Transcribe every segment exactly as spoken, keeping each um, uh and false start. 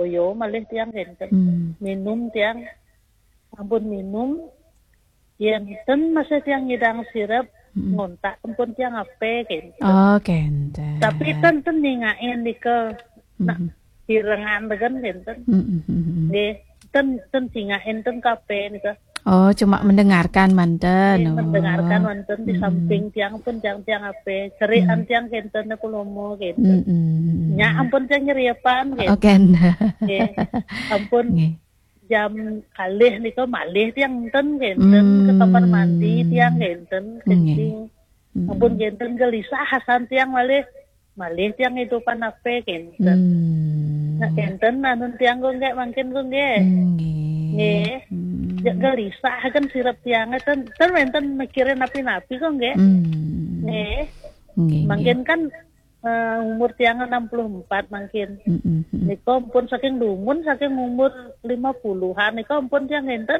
toyo malih tiang kenten. Hmm. Minum tiang, ampun minum, yen ten masih tiang ngidang sirep, hmm, ngontak ampun tiang ape kenten. Oh, kenten. Tapi ten, ten ningakin nika, nak, hmm, pirengan dengan kenten. Hmm, hmm, hmm, hmm. Nggih, ten, ten singakin ten kape nika. Oh, cuma mendengarkan manten. Nggih, oh, mendengarkan manten di, mm-mm, samping tiang pun tiang-tiang ape. Cerian, mm, tiang kenten aku lomo kenten. Mm-mm. Nya ampun tiang nyeriepan, oh, kenten, kenten. Nggih. Ampun, nggih, jam kalih nika malih tiang enten kenten, mm, ke kamar mandi tiang kenten, nggih, kencing. Mm-mm. Ampun kenten gelisah asan tiang malih. Malih tiang idupan ape kenten. Hmm. Nah, kenten anun tiang kok nggih mangkin kok nggih. Nggih. Nggih. Hmm. Ya, gelisah kan sirep tiang ten, ten wenten mikirin napi-napi kok nggih. Hmm. Nggih. Nggih, mangkin nggih, kan, eh, umur tiang enam puluh empat mangkin. Mm-mm, mm-mm. Nika ampun saking dumun, saking umur lima puluhan nika ampun tiang kenten.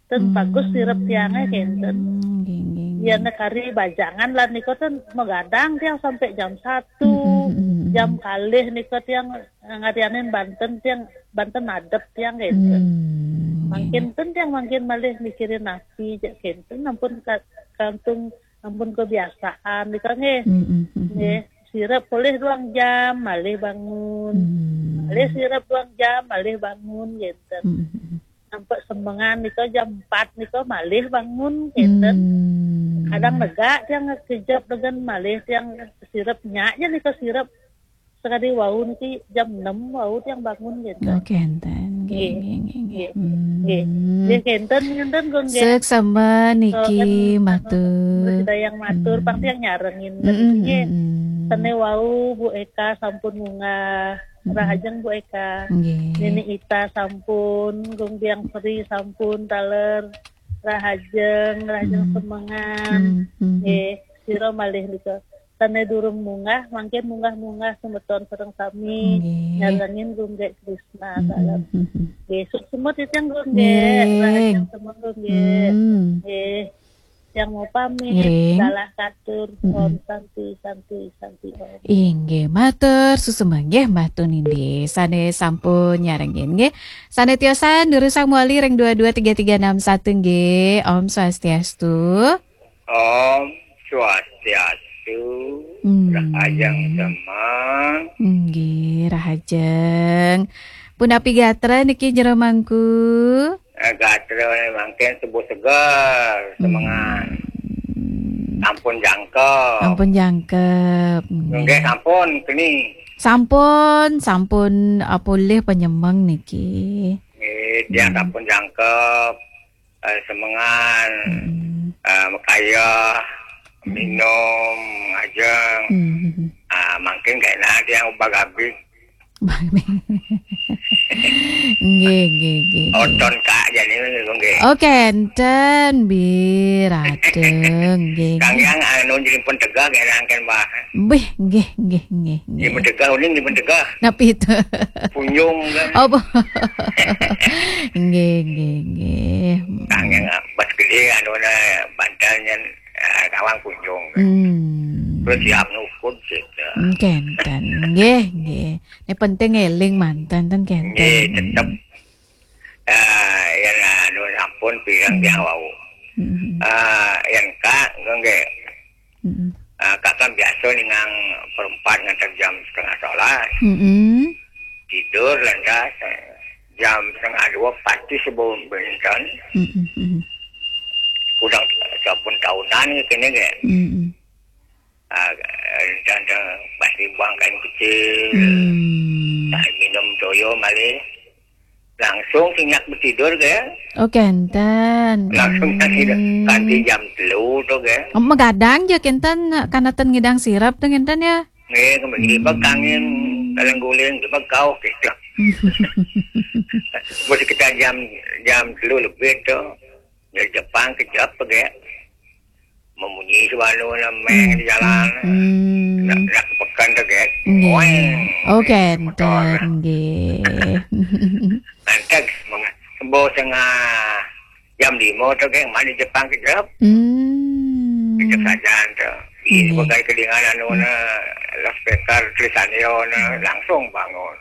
Ten, hmm, bagus sirep tiangnya kenten. Nggih, nggih, nggih. Yen kari bajangan lah nika ten magadang tiang sampai jam satu. Mm, mm, mm, mm. Jam kalih nika tiang, eh, ngarianin banten tiang, banten adep tiang kenten. Hmm, nggih, mangkin nggih, ten tiang mangkin malih mikirin napi jak kenten ampun ka-, kantung ampun kebiasaan nika nggih. Mm, mm, mm, mm. Nggih, sirep polih duang jam malih bangun. Hmm. Malih sirep duang jam malih bangun kenten. Mm, mm, mm. Sampai semengan nika jam empat nika malih bangun kenten. Hmm. Kadang negak tiang kejap dengan malih tiang sirep nya aja nika sirep sekali wau niki jam enam wau tiang bangun kenten. Oh, kenten. Nggih, nggih, nggih, nggih, nggih. Hmm. Nggih. Nggih, kenten, kenten kok nggih. Seksama niki, oh, kan, matur. Anu, Dayang matur, hmm, pang tiang nyarengin, hmm, niki nggih. Hmm. Sane wau Bu Eka sampun munggah. Mm-mm. Rahajeng Bu Eka. Nggih. Nini Ita sampun, Gung Biang Sri sampun taler. Rahajeng, rahajeng, mm, semengan. Mm, mm, mm. Nggih, sira malih nika. Sane durung munggah, mangkin munggah-munggah semeton sareng sami. Nggih. Nyarengin Gung Gek Krisna, mm, mm, taler, mm, mm. Nggih, suksma titiang Gung Gek. Ngiring. Rahajeng semengan Gung Gek. Mm. Nggih. Yang mau pamit, ngiring, dalah katur, mm-mm, Om Santi, Santi, Santi, Om. Inggih, matur suksma nggih, Mbah Tun Indi. Sane sampun nyarengin nggih. Sane tiosan durusang mewali ring dua dua tiga tiga enam satu nggih. Om Swastiastu. Om Swastiastu. Hmm. Rahajeng semeng. Nggih, rahajeng. Punapi gatra niki jero mangku? Eh, gatra mangkin tubuh seger, semengan. Hmm. Sampun jangkep. Sampun jangkep, nggih. Nggih, sampun keni. Sampun, sampun, ah, polih penyemeng niki. Nggih, tiang, hmm, sampun jangkep, eh, semengan, hmm, eh, makayah, hmm, minum, ngajeng. Hmm. Ah, mangkin kena tiang ubah gabik. Nggih, nggih, nggih, nggih. Oton Kak jani nggih. Oh, kenten, bi, radeng, nggih, nggih. Kang Yang anu jadi pentegah ya, nangken, Mbah. Bih, nggih, nggih, nggih, nggih. Jadi pentegah, uning jadi pentegah. Napi itu? Punyung, kan. Oh, bu-, nggih, nggih, nggih. Kang Yang, ah, bas gede, anu, na, bantalnya, ah, kawang punyung, kan. Hmm. Terus siap nukud, gitu. Hmm, kenten. Nggih, nggih. Ini penting eling manten ten kenten. Nggih, tetep. Ah, yen anu sampun pirang, hmm, tiang wau. Hmm. Ah, yen Kak, nggih. Hmm. Ah, Kak kan biasa ningang perempat nganti jam setengah sebelas. Hmm. Tidur lantas, eh, jam setengah dua pasti sebelum benten. Hmm. Udah sampun tahunan kene nggih. Hmm. Ah, dan, dan pasti buang kain kecil. Hmm. Nah, minum toyo malih. Langsung sinyak betidur ke? Oh, kenten. Langsung, hmm, tidur. Kanti jam telu tu ke? Oh, magadang ja kenten, kanatan ngidang sirep tu kenten ya? Nggih, kembali, hmm, bag kangin, kalang guling, bag kau gitu. Mesti kita jam, jam telu lebih tu. Dari Jepang ke Jep ke. Memunyi suara nameng, hmm, di jalan. Hmm. Nak, nak pekan tu, gek. Nggih. Oeng. Oh, kenten, motor. Nggih. Lantas, meng-, sembo setengah jam lima tu, gek, mari Jepang kejap. Hmm. Kejap saja tu. Nggih. Sebagai kelingan anu, hmm, na, loudspeaker tulisan dia, na, hmm, langsung bangun.